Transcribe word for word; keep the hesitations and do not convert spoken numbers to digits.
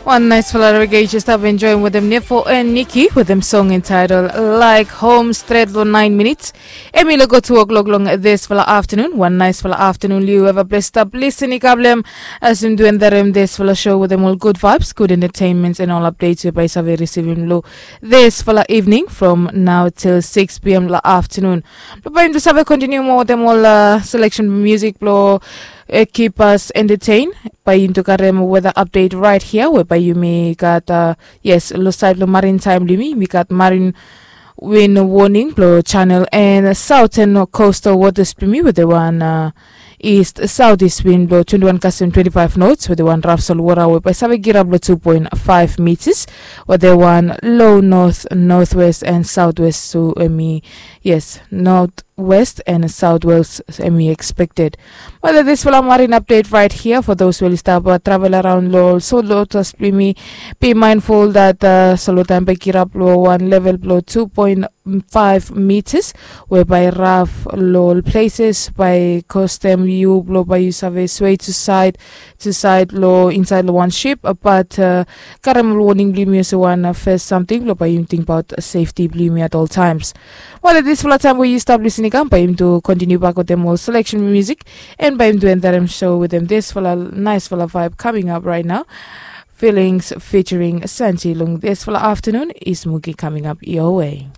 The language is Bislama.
Wan naisfala rege yu stap enjoim wetem Nefo and Nikki wetem song entitled Like Home stret long nine minutes. Em i lago two o'clock long disfala afternoon. Wan naisfala afternoon liu eva ples stap lisin i kablem as im duendarem disfala show wetem ol good vibes, good entertainments and ol updates we bai save risivim lo disfala evening from now till six p.m. la afternoon. Lo bai im tu save kontiniu moa wetem ol selection music blo keep us entertain. Bai im tu karem weather update right here we bai yumi gat uh, yes, lo side lo marine time limi mi gat marine wind warning blo channel and southern coastal waters blimi with the one uh, east southeast wind blo twenty-one custom twenty-five knots with the one rough sol water we bai save girap lo two point five meters with the one low north northwest and southwest so emi yes north west and southwest emi expected. Whether this fala marine update right here for those will stop uh, travel around lo sol lotus blimi be mindful that uh, solo time bai girap lo one level blo two point five meters whereby rough lo places by custom you blo by you save sway to side to side lo inside lo one ship uh, but uh, karem warning blimi as one uh, first something blo by you think about safety blimi at all times. Well, at this fala time where you stop listening up by him to continue back with them all selection music and by him to end that I'm show with them this fala nice fala vibe coming up right now. Feelings featuring Santi Lung this fala afternoon is Mugi coming up your way.